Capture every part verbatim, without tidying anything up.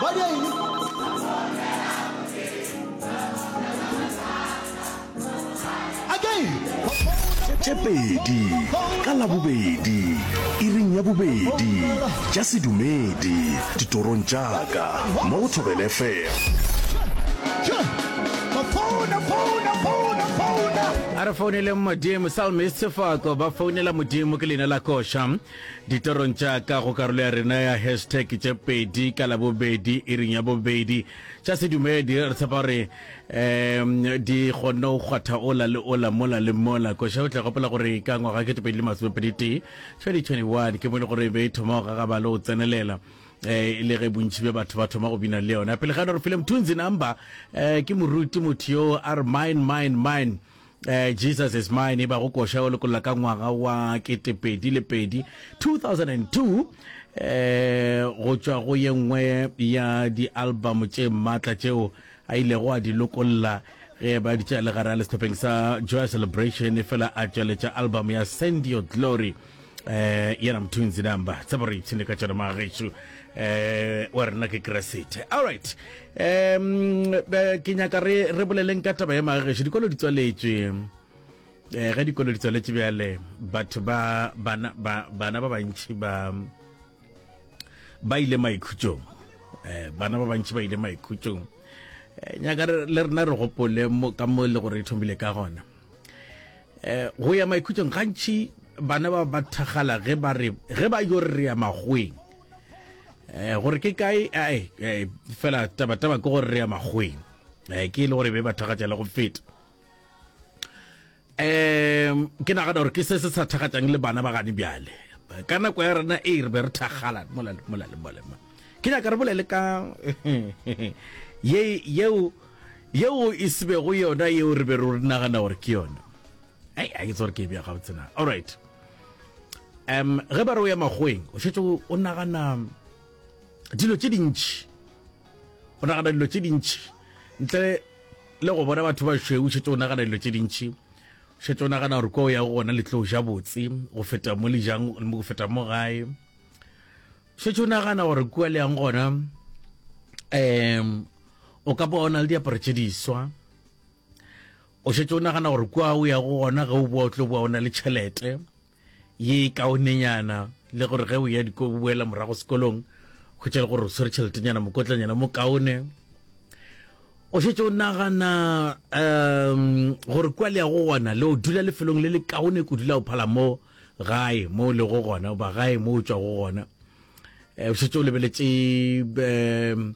Ba dia eng? Again. Tše pedi ka Labobedi, iring ya bobedi, tša sedumedi, ditorong tša ka, mo go Thobela F M. A re founeleng Modimo. Psalmist Sefako, ba founela Modimo ke leina la koša. Ditorong tša ka go karolo ya rena ya hashtag tše pedi ka Labobedi, iring ya bobedi, tša sedumedi. Re tshepa gore um di kgonne go kgwatha ola le ola, mola le mola. Koša o tla gopola gore ka ngwaga ketepedi le masomepedi tee, twenty twenty-one, ke mo e le gore e be e thoma go gagaba le go tsenelela, eh le ge bontši bja batho ba thoma go bina le yona. Pele ga yona re file Mthunzi Number, eh ke moruti motho yo a re "Mine, mine, mine, eh Jesus is mine", e ba go koša o lokolla ka ngwaga wa ketepedi le pedi, two thousand and two, eh go tšwa go ye nngwe ya di-album tše maatla tšeo a ilego a di lokolla ge ba di tša le gare a le sehlopheng sa Joy Celebration, fela a tšweletša album ya Send Your Glory. eh yena Mthunzi Number, tsebo re ipshine ka tšona magešo, eh wa rena ke Keresete. Alright, um ke nyaka re re boleleng ka taba ya magešo, dikolo di tswaletšwe. eh ge dikolo di tswaletše bjale, batho ba bana ba bana ba bantši ba ba ile maikhutšong, eh bana ba bantši ba ile maikhutšong. eh nyaka re- le rena re gopole mo ka mo le gore e thomile ka gona eh go ya maikhutšong. Gantši bana ba ba thagala ge ba re ge ba yo re re ya magweng, eh gore ke kae, ai eh, fela taba taba ke gore re ya magweng, eh ke e le gore be ba thagatša le go feta. um ke nagana gore ke se se sa thagatšang le bana ba gane bjale. Ka nako ya rena e re be re thagala mola le mola le mola. Ke nyaka re bolele ka ye yeo yeo e sebego yona yeo re be re nagana gore ke yona. Ai, a ke tsore ke e bja gabotse na? Alright, um ge ba re o ya magweng, o šetše o o nagana dilo tše dintši, o nagana dilo tše dintši ntle le go bona batho ba šweu. Šetše o nagana dilo tše dintši, šetše o nagana gore kwa o yago gona le tlo ja botse go feta mo le jang, go feta mo gae. Šetše o nagana gore kua le yang gona um o ka bona le diaparo tše diswa. O šetše o nagana gore kua o yago gona, ge o boa, o tlo boa o na le tšhelete ye kaonenyana, le gore ge o ya diko boela morago sekolong, hwetša le gore o swere tšheletenyana, mokotlanyana mo kaone. O šetše o nagana um gore kua le yago gona le o dula lefelong le le kaone kudu la o phala mo gae mo o lego gona, goba gae mo o tšwago gona. um o šetše o lebeletše um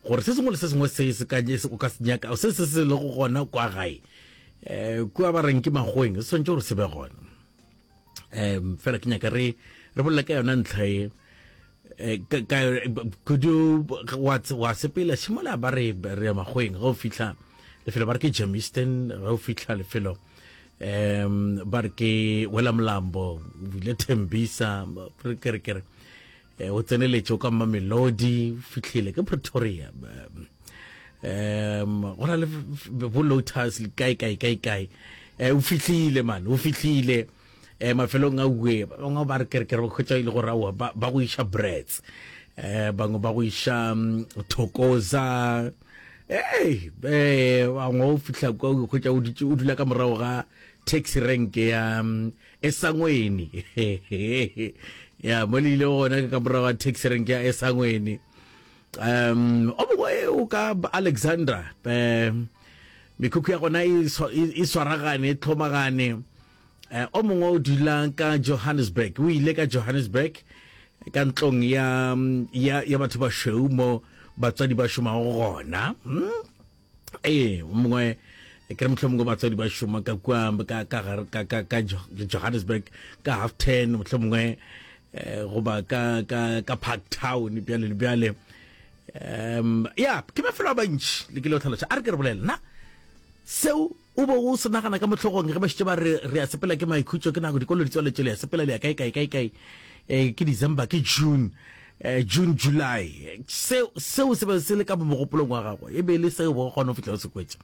gore se sengwe le se sengwe se se ka o ka se nyaka, se se se lego gona kwa gae, um kua ba reng ke magweng, se tshwanetse gore se be gona. um fela ke nyaka re re bolela ka yona ntlha e, eh, ka- ka- kudu wa wa sepela šimola ba re re ya magweng, ge o fitlha lefelo ba re ke Germiston, ge o fitlha lefelo um ba re ke Wela Mlambo, o bile Tembisa, re ke re ke re eh, o tseneletše o ka Mamelodi, o fitlhile ke Pretoria, um um go na le bo Lotus le kae kae kae kae, eh, o fitlhile man, o fitlhile eh mafelong a uwe. Ba bangwe ba re ke re ke re hwetša e le gore aowa, ba ba go iša Brits, eh bangwe ba go iša mm, Thokoza, hey eh bangwe o fihla kwa o hwetša o dutše o dula ka morago ga taxi rank ya mm, Esangweni, ya mo le ile gona ke ka morago ga taxi rank ya Esangweni. um o mongwe o ka Alexandra, um mekhukhu ya gona e swa- e e swaragane, e tlhomagane. eh o mongwe o dula ka Johannesburg, o ile ka Johannesburg ka ntlong ya ya ya batho ba šweu mo batswadi ba šomago gona. hmm? Ee, o mongwe ke re mohlomongwe batswadi ba šoma ka kua ka ka gare- ka ka ka Jo- Johannesburg ka half ten mohlomongwe, eh, goba ka ka ka Park Town, bjale le bjale. um ya ke mafelo a bantši le ke le go tlhaloša. A re ke re bolela na seo o bo o se nagana ka mohlogong ge ba šetše ba re re a sepela ke maikhutšo, ke nako dikolo di tswaletše, le ya sepela le ya kae kae kae kae, eh, ke December, ke June, eh, June, July. Seo seo se be se le ka mo mogopolong wa gago, e be e le seo bo kgona go fihla o se kwetša?